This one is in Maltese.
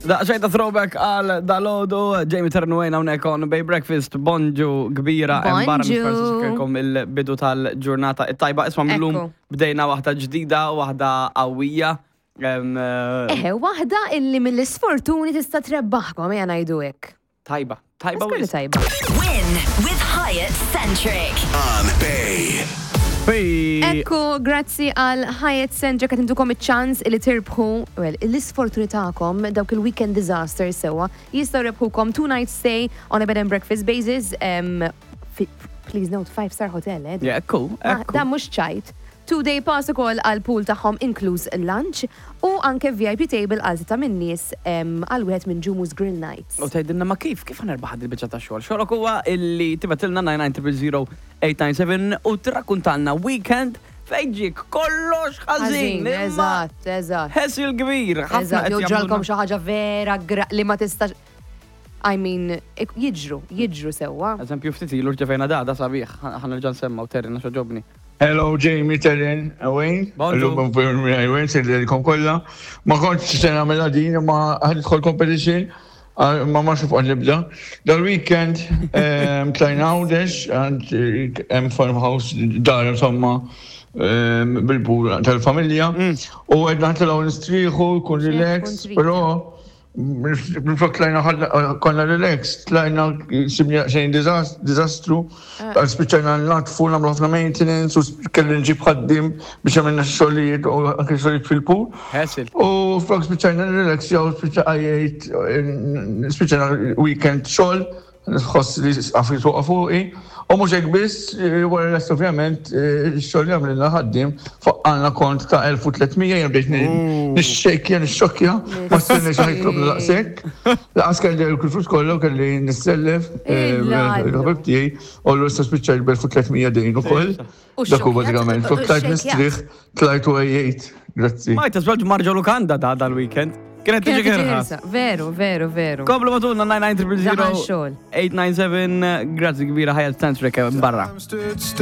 Daqxejn ta' throwback għal dalodu, Jamie Ternuwejn hawnhekk on Bay Breakfast, bonġu kbira hemm barra Bonġu. nispersu il-bidu tal-ġurnata it-tajba. Isma' millum Ekku. bdejna waħda ġdida, waħda qawwija. Em, eh, Eħe, waħda illi mill-isfortuni tista' trebbaħkom, ejja ngħidu hekk. Tajba, tajba Skurli wisq. tajba. Win with Hyatt Centric. On Bay. Fej. Ekku, grazzi għal Hyatt Centric qed intukom iċ-ċans li tirbħu, well, l-isfortuni tagħkom dawk il-weekend disaster sewwa jistgħu rebħukom two night stay on a bed and breakfast basis. Um, fi, please note, five star hotel, eh? Yeah, ekku, Ah, ekku. Dan mhux ċajt. Two day pass ukoll għal pool tagħhom inkluż lunch u anke VIP table għal ta' minn nies em, għal wieħed minn Jumu's Grill Nights. U tgħidilna ma kif, kif ħanerbaħ il-biċċa ta' xogħol? Xogħolok huwa illi tibatilna 9900897 u tirrakkuntalna weekend fejn ġiek kollox ħażin. imma Eżatt, eżatt. Ħesil kbir, ħafna Eżatt, qed jew ġralkom jagħmlulna- xi ħaġa vera gra li ma tistax. I mean, ik- jiġru, jiġru sewwa. Eżempju, ftit ilu rċevejna da, da sabiħ, ħanerġa' nsemma u terri naxa ġobni. Hello, Jamie, Terren, Wayne. Bonjour. Illum Wayne, sejlilkom kollha. Ma kontx se nagħmilha din, ma ħadidħol competition, ah, ma ma xuf nibda. Dal-weekend ehm, tlajna Għawdex, għand eh, hemm farmhouse dar insomma ehm, bil-bur tal-familja. U għedna ħatilgħu nistrieħu, kun relax, kun trid. però Minflok tlajna ħadna- konna relax, tlajna sibni xejn dizastru, spiċċajna natfu, nagħmlu ħafna maintenance, u sp- kelli nġib ħaddim biex għamilna xogħlijiet u anke xogħlijiet fil-pool. Ħesil. U flok spiċċajna relax, jew spiċċajt, spiċċajna weekend xogħol, nħoss li għafri tuqa fuqi. U mhux hekk biss, eh, wara l-est ovvjament, eh, x-xogħol li għamlilna ħaddim faqqalna kont ta' 1300 jien bdejt nixxejkja, nixxokkja, ma stenniex ħa jitlobna daqshekk. Laqas kelli l-flus kollu kelli nissellef eh, Illa. il-ħabib tiegħi u l-issa spiċċajt b'1300 dejn ukoll. U Dak hu xxokkjat, bażikament, u flok tlajt xxejkjat. nistrieħ, tlajt u għejjejt. Grazzi. Ma jtasbel marġa lukanda da dal-weekend. Kienet tiġi Kienet tiġi kerha. ħirsa. Veru, veru, veru. Komplu matulna Daħal 990 xogħol. 897, grazzi kbira ħajja Centric barra. Stood still.